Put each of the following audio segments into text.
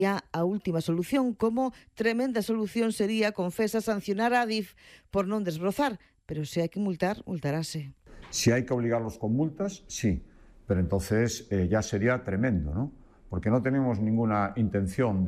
A última solución, como tremenda solución sería, confesa, sancionar a Adif por non desbrozar, pero se hai que multar, multarase. Si hay que obligarlos con multas, sí, pero entonces ya sería tremendo, ¿no? Porque no tenemos ninguna intención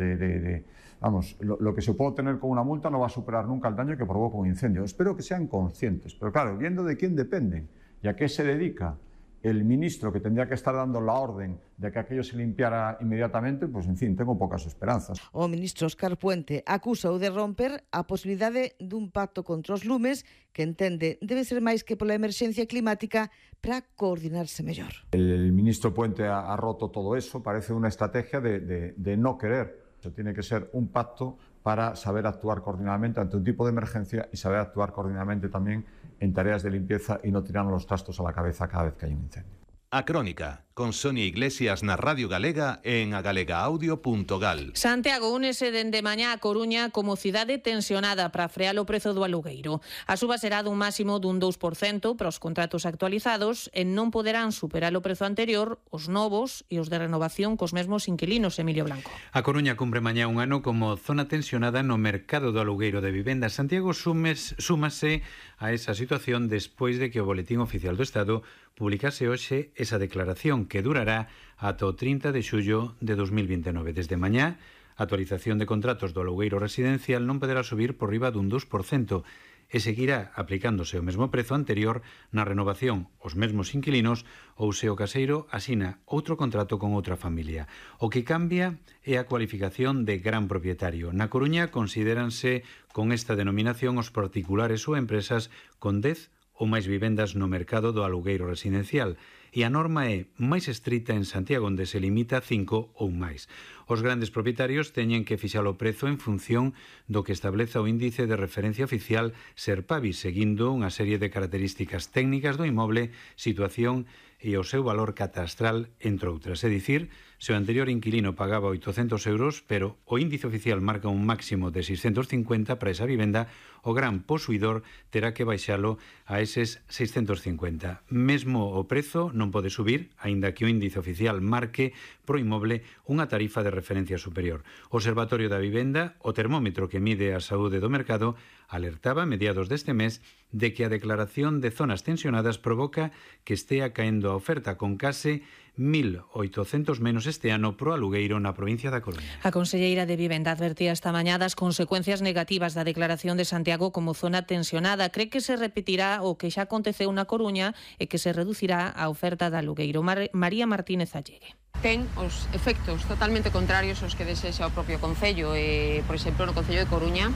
vamos, lo que se puede tener con una multa no va a superar nunca el daño que provoca un incendio. Espero que sean conscientes, pero claro, viendo de quién dependen y a qué se dedica el ministro que tendría que estar dando la orden de que aquello se limpiara inmediatamente, pues en fin, tengo pocas esperanzas. O ministro Óscar Puente acusou de romper a posibilidade dun pacto contra os lumes que entende debe ser máis que pola emerxencia climática para coordinarse mellor. El ministro Puente ha roto todo eso, parece una estrategia de no querer. Tiene que ser un pacto para saber actuar coordinadamente ante un tipo de emergencia y saber actuar coordinadamente también en tareas de limpieza y no tirarnos los trastos a la cabeza cada vez que hay un incendio. A Crónica, con Sonia Iglesias na Radio Galega en agalegaaudio.gal. Santiago únese dende mañá a Coruña como cidade tensionada para frear o prezo do alugueiro. A suba será dun máximo dun 2% para os contratos actualizados e non poderán superar o prezo anterior os novos e os de renovación cos mesmos inquilinos, Emilio Blanco. A Coruña cumpre mañá un ano como zona tensionada no mercado do alugueiro de vivenda. Santiago súmase a esa situación despois de que o Boletín Oficial do Estado publicase hoxe esa declaración que durará ata o 30 de xullo de 2029. Desde mañá, a actualización de contratos do alugueiro residencial non poderá subir por riba dun 2% e seguirá aplicándose o mesmo prezo anterior na renovación os mesmos inquilinos ou se o caseiro asina outro contrato con outra familia. O que cambia é a cualificación de gran propietario. Na Coruña considéranse con esta denominación os particulares ou empresas con 10 ou máis vivendas no mercado do alugueiro residencial e a norma é máis estrita en Santiago, onde se limita a 5 ou máis. Os grandes propietarios teñen que fixar o prezo en función do que estableza o índice de referencia oficial Serpavi, seguindo unha serie de características técnicas do inmoble, situación e o seu valor catastral, entre outras. É dicir, se o anterior inquilino pagaba 800 euros, pero o índice oficial marca un máximo de 650 para esa vivenda, o gran posuidor terá que baixalo a eses 650. Mesmo o prezo non pode subir, aínda que o índice oficial marque pro inmoble unha tarifa de referencia superior. O Observatorio da Vivenda, o termómetro que mide a saúde do mercado, alertaba a mediados deste mes de que a declaración de zonas tensionadas provoca que estea caendo a oferta, con case 1.800 menos este ano pro alugueiro na provincia da Coruña. A conselleira de Vivenda advertía esta mañá das consecuencias negativas da declaración de Santiago como zona tensionada. Cree que se repetirá o que xa aconteceu na Coruña e que se reducirá a oferta de alugueiro. María Martínez Allegue. Ten os efectos totalmente contrarios aos que desexa o propio Concello. Por exemplo, no Concello de Coruña,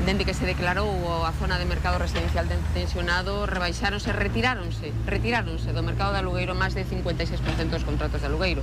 dende que se declarou a zona de mercado residencial tensionado, retiráronse do mercado de alugueiro máis de 56% dos contratos de alugueiro.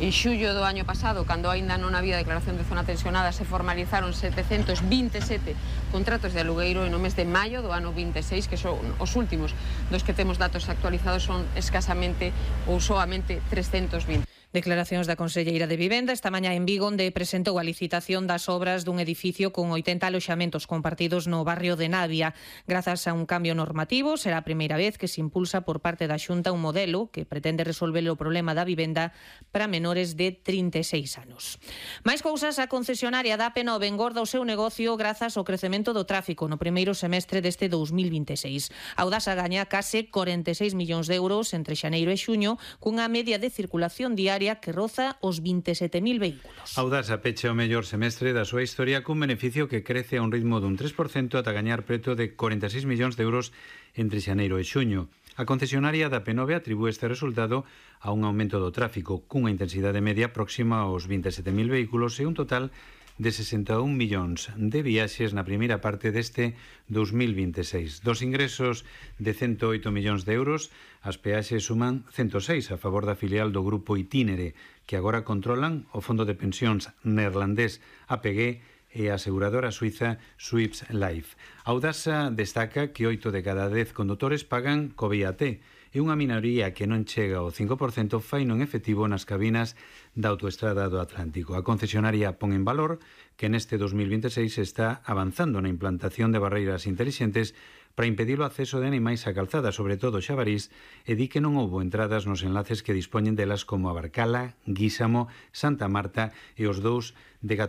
En xullo do año pasado, cando aínda non había declaración de zona tensionada, se formalizaron 727 contratos de alugueiro, e no mes de maio do ano 26, que son os últimos dos que temos datos actualizados, son escasamente ou soamente 320. Declaracións da conselleira de Vivenda esta mañá en Vigo, onde presentou a licitación das obras dun edificio con 80 aloxamentos compartidos no barrio de Navia. Grazas a un cambio normativo, será a primeira vez que se impulsa por parte da Xunta un modelo que pretende resolver o problema da vivenda para menores de 36 anos. Mais cousas, a concesionaria da AP9 engorda o seu negocio grazas ao crecemento do tráfico no primeiro semestre deste 2026. A Audasa gaña case 46 millóns de euros entre xaneiro e xuño, cunha media de circulación diaria que roza os 27.000 vehículos. Audasa pecha o mellor semestre da súa historia cun beneficio que crece a un ritmo dun 3% ata gañar preto de 46 millóns de euros entre xaneiro e xuño. A concesionaria da AP9 atribúe este resultado a un aumento do tráfico cunha intensidade media próxima aos 27.000 vehículos e un total de 61 millóns de viaxes na primeira parte deste 2026. Dos ingresos de 108 millóns de euros, as peaxes suman 106 a favor da filial do grupo Itinere, que agora controlan o fondo de pensións neerlandés APG e a aseguradora suiza Swiss Life. Audasa destaca que 8 de cada 10 condutores pagan co VAT e unha minoría que non chega ao 5% faino en efectivo nas cabinas da autoestrada do Atlántico. A concesionaria pon en valor que neste 2026 está avanzando na implantación de barreiras intelixentes para impedir o acceso de animais á calzada, sobre todo xabarís, e di que non houbo entradas nos enlaces que dispoñen delas como Abarcala, Guísamo, Santa Marta e os dous de